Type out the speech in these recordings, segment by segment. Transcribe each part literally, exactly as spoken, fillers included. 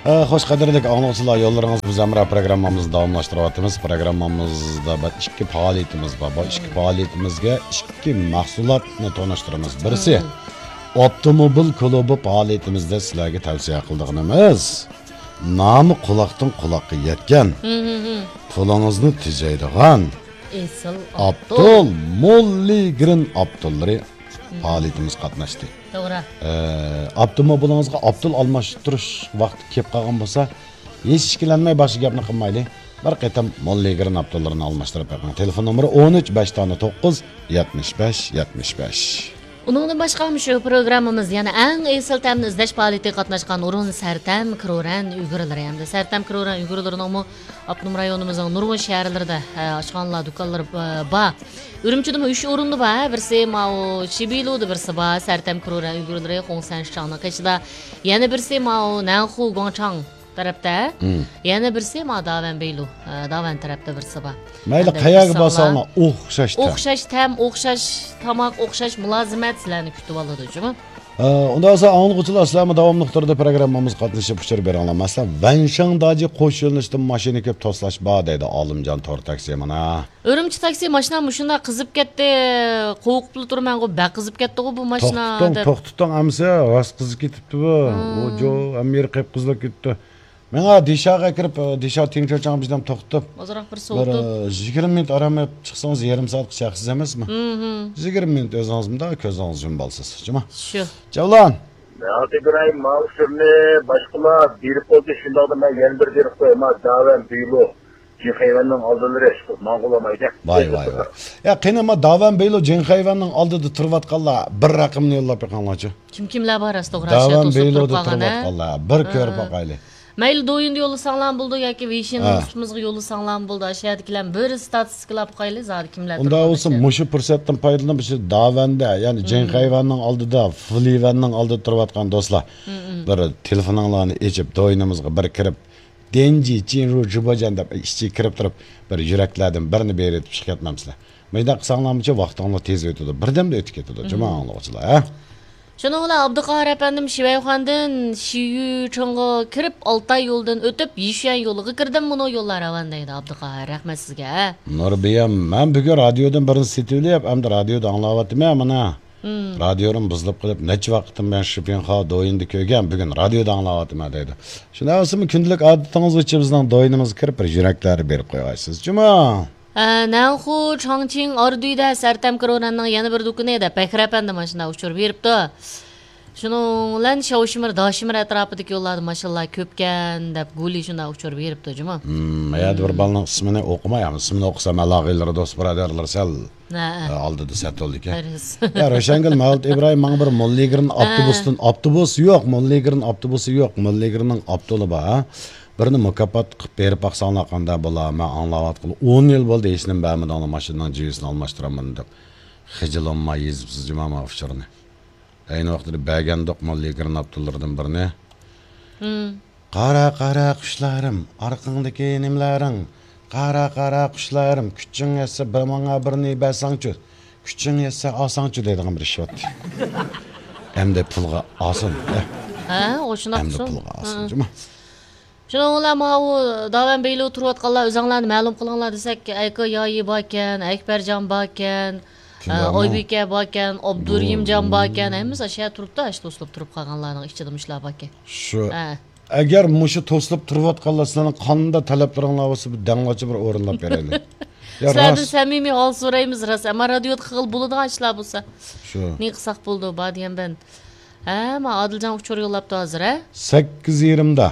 ئە، خوش، قەدىرلىك ئاڭلىغۇچىلار، يوللىرىڭىز بىز ھەمراھ پروگراممىمىزنى داۋاملاشتۇرۇۋاتىمىز. پروگراممىمىزدا بىر ئىككى پائالىيىتىمىز بار. بۇ ئىككى پائالىيىتىمىزگە ئىككى مەھسۇلاتنى تونۇشتۇرىمىز. بىرسى، ئاپتوموبىل كۇلۇبى پائالىيىتىمىزدە سىلەرگە تەۋسىيە قىلىدىغىنىمىز، نامى قۇلاقتىن قۇلاققا يەتكەن، پۇلىڭىزنى تېجەيدىغان ئېسىل ئاپتول، ئاپتول، موللىگرېن ئاپتوللىرى پائالىيىتىمىز قاتناشتى. توغرا. ئە، ئاپتوموبىلىڭىزغا ئاپتول ئالماشتۇرۇش ۋاقتى كېلىپ قالغان بولسا، ھېچ ئىككىلەنمەي باشقا گەپنى قىلمايلى. بىر قېتىم موللىگرېن ئاپتوللىرىنى ئالماشتۇرۇپ بېقىڭ. تېلېفون نومۇرى ئون ئۈچ، بەش دانە توققۇز، يەتمىش بەش، يەتمىش بەش. ئۇنىڭدىن باشقا، شۇ پروگراممىمىز يەنە ئەڭ ئېسىل تەمنى ئىزدەش پائالىيىتىگە قاتناشقان ئورۇن سەرتەم كرورەن ئۇيغۇرلىرى ھەمدە سەرتەم كرورەن ئۇيغۇرلىرىنىڭمۇ ئاپتونوم رايونىمىزنىڭ نۇرغۇن شەھەرلىرىدە، ئە، ئاشخانىلار، دۇكانلىرى، ئە، بار. ئۈرۈمچىدىمۇ ئۈچ ئورۇندا بار. بىرسى ماۋۇ شىبىلۇدا بىرسى بار، سەرتەم كرورەن ئۇيغۇرلىرى خۇڭسەن شىچاڭنىڭ قېشىدا. يەنە بىرسى ماۋۇ نەنخۇ گۇاڭچاڭ تەرەپتە. يەنە بىرسى ماۋۇ داۋەن بېيلۇ، ئە، داۋەن تەرەپتە بىرسى بار. مەيلى، قەيەرگە بارساڭلار ئوخشاش تەم. ئوخشاش تەم، ئوخشاش تاماق، ئوخشاش مۇلازىمەت سىلەرنى كۈتۈۋالىدۇ جۇمۇ. ئە، ئۇنداق بولسا، ئاڭلىغۇچىلار، سىلەرمۇ داۋاملىق تۈردە پروگراممىمىزغا قاتنىشىپ ئۇچۇر بېرىڭلار. مەسىلەن، ۋەنشاڭداجى قوش يۆنىلىشتىن ماشىنا كۆپ توسلاش بار دەيدۇ ئالىمجان تور تاكسى مانا. ئۈرۈمچى تاكسى ماشىنا مۇشۇنداق قىزىپ كەتتى، قوۋۇقۇپلا تۇرمەنغۇ، بەك قىزىپ كەتتىغۇ بۇ ماشىنا توختىتىڭ، دەپ. توختىتىڭ، ئەمىسە راست قىزىپ كېتىپتۇ بۇ. ئۇ جو، ھەممە يېرى قىپقىزىلىپ كېتىپتۇ. ماڭا دىشاغا كىرىپ، دىشا تىڭچۆچاڭ بىزدەن توختىتىپ، ئازراق بىر بىر، سوۋۇتۇپ. ئە، يىگىرمە مىنۇت ئارام ئېلىپ چىقسىڭىز، يېرىم سائەتقىچە ھەقسىز ئەمەسمۇ؟ يىگىرمە مىنۇت ئۆزىڭىز مۇنداق كۆزىڭىزنى يۇمۇۋالىسىز، جۇما. شۇ. جەۋلان. ھازىر ئىبراھىم، ماۋۇ ئۇچۇرنى باشقىلار بېرىپ بولدى، شۇنداقتا مەن يەنە بىر بېرىپ قوياي، ما داۋەن بىلۇ جىنخەيۋەننىڭ ئالدىلىرى، ماڭغۇلام ھەيدە. ۋاي، ۋاي، ۋاي. يا، قېنى، ما داۋەن بىلۇ جىنخەيۋەننىڭ ئالدىدا تۇرۇۋاتقانلار بىر رەقەمنى يوللاپ بېقىڭلارچۇ. كىم كىملەر بار راست توغرا، داۋەن توسۇپ بىلۇدا تۇرۇپ قالغان، ھە؟ تۇرۇۋاتقانلار بىر كۆرۈپ باقايلى. مەيلى، دويىندا يوللىساڭلارمۇ بولىدۇ ياكى ۋېيشىن سۇپىمىزغا يوللىساڭلارمۇ بولىدۇ. ئاشۇ يەردىكىلەر بىر ستاتىستىكىلاپ باقايلى، زادى كىملەر ئۇنداق تۇرۇپ بولسا، قالىدىكەن. مۇشۇ پۇرسەتتىن پايدىلىنىپ، مۇشۇ داۋەندە، يەنى جىنخەيۋەننىڭ ئالدىدا، فۇلىۋەننىڭ ئالدىدا تۇرۇۋاتقان دوستلار، بىر تېلېفونۇڭلارنى ئېچىپ، دويىنىمىزغا بىر كىرىپ، دېنجى چىن رۇ جۇباجان دەپ ئىچىگە كىرىپ تۇرۇپ، بىر يۈرەكلەردىن بىرنى بېرىۋېتىپ چىقىپ كەتمەمسىلەر؟ مۇنداق قىلساڭلارمۇچە ۋاقتىڭلار تېز ئۆتىدۇ، بىردەمدە ئۆتۈپ كېتىدۇ، جۇما ئاڭلىغۇچىلار، ھە؟ شۇنىڭ بىلەن ئابدۇقاھار ئەپەندىم شىۋەيخۇەندىن شىيۈچىڭغا كىرىپ، ئالتاي يولىدىن ئۆتۈپ، يىشۈەن يولىغا كىردىم، مۇنۇ يوللار راۋان دەيدۇ ئابدۇقاھار. رەھمەت سىزگە. نۇربىيەم، مەن بۈگۈن رادىيودىن بىرنى سېتىۋېلىپ، ئەمدى رادىيودا ئاڭلاۋاتىمەن مانا. رادىيوم بۇزۇلۇپ قېلىپ، نەچچە ۋاقىتتىن بۇيان شىپىنخا دويىندا كۆرگەن، بۈگۈن رادىيودا ئاڭلاۋاتىمەن دەيدۇ. شۇنداق بولسىمۇ كۈندىلىك ئادىتىڭىز بويىچە بىزنىڭ دويىنىمىزغا كىرىپ، بىر يۈرەكلەرنى بېرىپ قويغايسىز، جۇما. ئە، نەنخۇ، چاڭچىڭ، ئاردۈيدە سەرتەم كرورەننىڭ يەنە بىر دۇكىنى دەپ بەكرى ئەپەندى ماشىنا ئۇچۇر بېرىپتۇ. شۇنىڭ بىلەن شياۋشىمىر، داشىمىر ئەتراپىدىكى يوللاردا ماشىنىلار كۆپكەن دەپ گۇلى شۇنداق ئۇچۇر بېرىپتۇ جۇمۇ. مم، يەنە بىر بالىنىڭ ئىسمىنى ئوقۇماي، ئەمما ئىسمىنى ئوقۇسام ئالاقىلىرى، دوست بۇرادەرلەر سەل، ھە، ھە، ئالدىدا سەتولدىكەن. يا، روشەنگۈل، مەۋلۇت ئىبراھىم، ماڭا بىر موللىگرىن ئاپتوبۇستىن، ئاپتوبۇس يوق، موللىگرىن ئاپتوبۇسى يوق، موللىگرىننىڭ ئاپتولى بار، ھە؟ بىرنى مۇكاپات قىلىپ بېرىپ باقساڭلار قانداق بولا؟ مەن ئاڭلاۋاتقىلى ئون يىل بولدى، ھېچنېمە بەرمىدىڭلار، ماشىنىنىڭ جىۋىسىنى ئالماشتۇرالمىدىم دەپ. خىجىل بولماي يېزىپسىز جۇما ماۋۇ ئۇچۇرنى. ئەينى ۋاقتىدا بەرگەندۇق موللىگرىن ئاپتوللىرىدىن بىرنى. قارا، قارا قۇشلىرىم، ئارقاڭدىكى نېمىلىرىڭ؟ قارا، قارا قۇشلىرىم، كۈچۈڭ يەتسە بىر ماڭا بىرنى بەرسەڭچۇ، كۈچۈڭ يەتسە ئالساڭچۇ دەيدىغان بىر ئىش بار. ئەمدى پۇلغا ئالسۇن، ئە. ھە، ئۇ شۇنداق ئەمدى پۇلغا ئالسۇن، جۇما. شۇنىڭ بىلەن ماۋۇ داۋەن بېيلۇ تۇرۇۋاتقانلار، ئۆزۈڭلارنى مەلۇم قىلىڭلار دېسەك، ئەيكا يايى باركەن، ئەكبەرجان باركەن، ئە، ئايبىكە باركەن، ئابدۇرېھىمجان باركەن، ھەممىسى ئاشۇ يەردە تۇرۇپتۇ، ئاشۇ توسۇلۇپ تۇرۇپ قالغانلارنىڭ ئىچىدە مۇشۇلار باركەن. شۇ. ھە. ئەگەر مۇشۇ توسۇلۇپ تۇرۇۋاتقانلار سىلەرنىڭ قانداق تەلەپلىرىڭلار بولسا، بىر دەڭلارچە بىر ئورۇنلاپ بېرەيلى. يا، سىلەردىن راست. سەمىمىي ھال سورايمىز، راست. ئەمما رادىيودا قىلغىلى بولىدىغان ئىشلار بولسا. شۇ. نېمە قىلساق بولىدۇ، بار دېگەن بىلەن. ھە، ما ئادىلجان ئۇچۇر يوللاپتۇ ھازىر، ھە؟ سەككىز يېرىمدا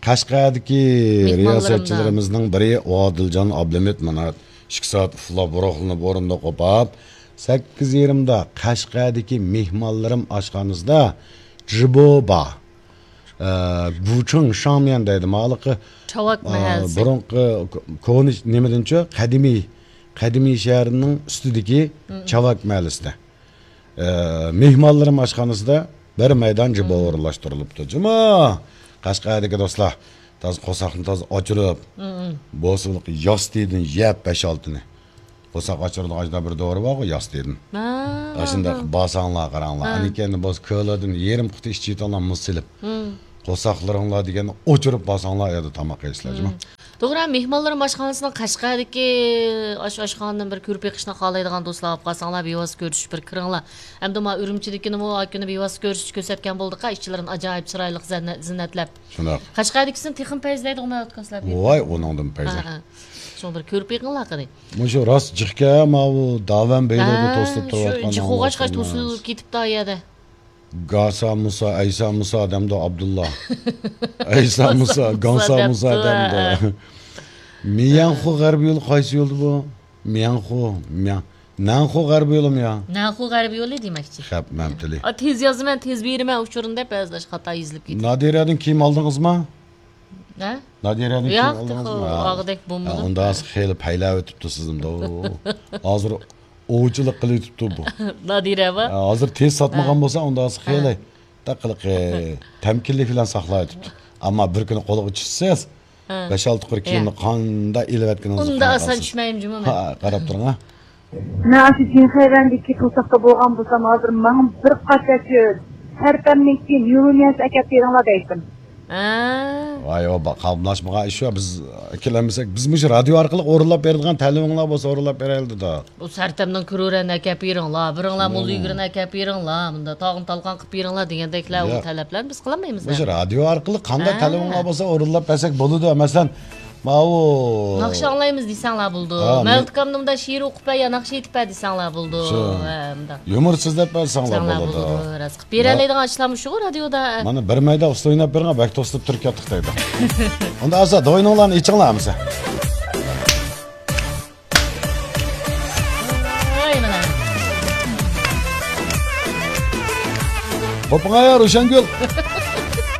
قەشقەردىكى مېھمانلىرىمدا. رىياسەتچىلىرىمىزنىڭ بىرى ئادىلجان ئابلىمىت مانا ئىككى سائەت ئۇخلاپ، روھلىنىپ، ئورنىدا قوپاپ، سەككىز يېرىمدا قەشقەردىكى مېھمانلىرىم ئاشخانىسىدا جىبو بار. ئە، گۇچىڭ شاڭميەن دەيدۇ، ماۋۇ ھېلىقى، چاۋاك ئە، مەھەللىسى. بۇرۇنقى كو-، كونا نېمىدىنچۇ، قەدىمىي، قەدىمىي شەھەرنىڭ ئۈستىدىكى چاۋاك مەھەللىسىدە. ئە، مېھمانلىرىم ئاشخانىسىدا بىر مەيدان جىبو ئورۇنلاشتۇرۇلۇپتۇ. جۇما! قەشقەردىكى دوستلار، تازا قورساقنى تازا ئاچۇرۇپ، بولسا ياستىدىن يەپ بەش-ئالتىنى. قورساق ئاچۇرىدىغان ئاشۇنداق بىر دورا بارغۇ، ياستىدىن. ھە، ئاشۇنداق ھە، ھە. بارساڭلار، قاراڭلار. ھە. ئەنىكەندىن بولسا كۆلىدىن يېرىم قۇتا ئىچىۋېتىڭلار، مۇز سېلىپ. قورساقلىرىڭلار دېگەننى ئوچۇرۇپ بارساڭلار، ئۇ يەردە تاماق يەيسىلەر، جۇمۇ. مم. توغرا، مېھمانلىرىم ئاشخانىسىنىڭ قەشقەردىكى ئاش-، ئاشخانىدىن بىر كۆرۈپ بېقىشنى خالايدىغان دوستلار بولۇپ قالساڭلار، بىۋاسىتە كۆرۈشۈپ بىر كىرىڭلار. ھەمدە ما ئۈرۈمچىدىكىنىمۇ ئاكىنى بىۋاسىتە كۆرسىتىپ كۆرسەتكەن بولدۇق، ئىچلىرىنى ئاجايىپ چىرايلىق زەننە-، زىننەتلەپ. شۇنداق. قەشقەردىكىسىنى تېخىمۇ پەيزلەيدىغۇ مەۋلۇت كاسلاپ. ۋاي، ئۇنىڭدىن پەيزلەر. ھە، ھە. شۇڭا بىر كۆرۈپ بېقىڭلار قېنى. مۇشۇ راست جىقكەن، ماۋۇ داۋەن بەيلىرىدە ھە، توسۇلۇپ شۇ تۇرۇۋاتقان جىق ئوغاچقاچ توسۇلۇپ كېتىپتۇ ئۇ يەردە. گاسا مۇسا، ئەيسا مۇسا دەمدۇ ئابدۇللا. ئەيسا مۇسا، گاسا مۇسا دەمدۇ. مىيەنخۇ غەربىي يولى قايسى يولدا بۇ؟ مىيەنخۇ، مىيەن-، نەنخۇ غەربىي يولىمۇ يا؟ نەنخۇ غەربىي يولى دېمەكچى. خەپ مەمتىلى. ئا، تېز يازىمەن، تېز بېرىمەن ئۇچۇرىنى دەپ بەزىلەر خاتا يېزىلىپ كېتىدۇ. نادىرەدىن كىيىم ئالدىڭىزمۇ؟ ھە؟ نادىرەدىن كىيىم ياق، ئالدىڭىزمۇ؟ تېخى ھە. ئالغۇدەك بولمىدىم. ھە، ئۇنداق خېلى پەيلەۋېتىپتۇ سىزنى. ھازىر ئوۋچىلىق قىلىۋېتىپتۇ بۇ. نادىرە بار. ھە، ھازىر تېز ساتمىغان ھە. بولسا، ئۇنداق خېلى ھە. دەقىلىقى تەمكىنلىك بىلەن ساقلاۋېتىپتۇ. ئەمما بىر كۈنى قولىغا چۈشسىز، ھە. بەش-ئالتە قۇر كىيىمنى ھە. قانداق ئېلىۋەتكىنىڭىزنى ئۇنداق ئاسان چۈشمەيمەن جۇمۇ مەن. ھە، قاراپ تۇرۇڭ، ھە. مەن ئاشۇ جىنخەيۋەندىكى پۇرسەتتە بولغان بولسام، ھازىر ماڭا بىر قاچا شۇ سەرپەمنىڭكى نيۇرونياس ئەكەپ بېرىڭلار دەيتتىم. ھە. ۋاي، ئۇ با-، قاملاشمىغان ئىش شۇ. بىز ئەكېلەلمىسەك، بىز مۇشۇ رادىيو ئارقىلىق ئورۇنلاپ بېرىدىغان تەلىپىڭلار بولسا ئورۇنلاپ بېرەيلى دېدۇق. ئۇ سەرتەمنىڭ كرورەنى ئەكەپ بېرىڭلار، بىرىڭلار مۇللىگۈرنى ئەكەپ بېرىڭلار، مۇندا تاغنى تالقان قىلىپ بېرىڭلار دېگەندەكلەر ئۇ ياق. تەلەپلەرنى بىز قىلالمايمىز. مۇشۇ رادىيو ئارقىلىق قانداق ھە. تەلىپىڭلار بولسا ئورۇنلاپ بەرسەك بولىدۇ. مەسىلەن، ماۋۇ ناخشا ئاڭلايمىز دېسەڭلار بولىدۇ. ھە، مەن مەۋلۇت ئاكامنى مۇنداق شېئىر ئوقۇپ بەر يا ناخشا ئېيتىپ بەر دېسەڭلار بولىدۇ. شۇ. ھە، مۇنداق. يۇمۇر سۆزلەپ بەرسەڭلار دېسەڭلار بولىدۇ. بولىدۇ. راست قىلىپ بېرەلەيدىغان ئىشلارمۇ شۇغۇ رادىيودا. مانا بىر مەيدان ئۇسسۇل ئويناپ بېرىڭە، بەك توسۇلۇپ تۇرۇپ كەتتۇق دەيدۇ. ئۇندا ئەمسە دوينۇڭلارنى ئېچىڭلار ئەمسە. ۋاي مانا. قوپۇڭا يا روشەنگۈل.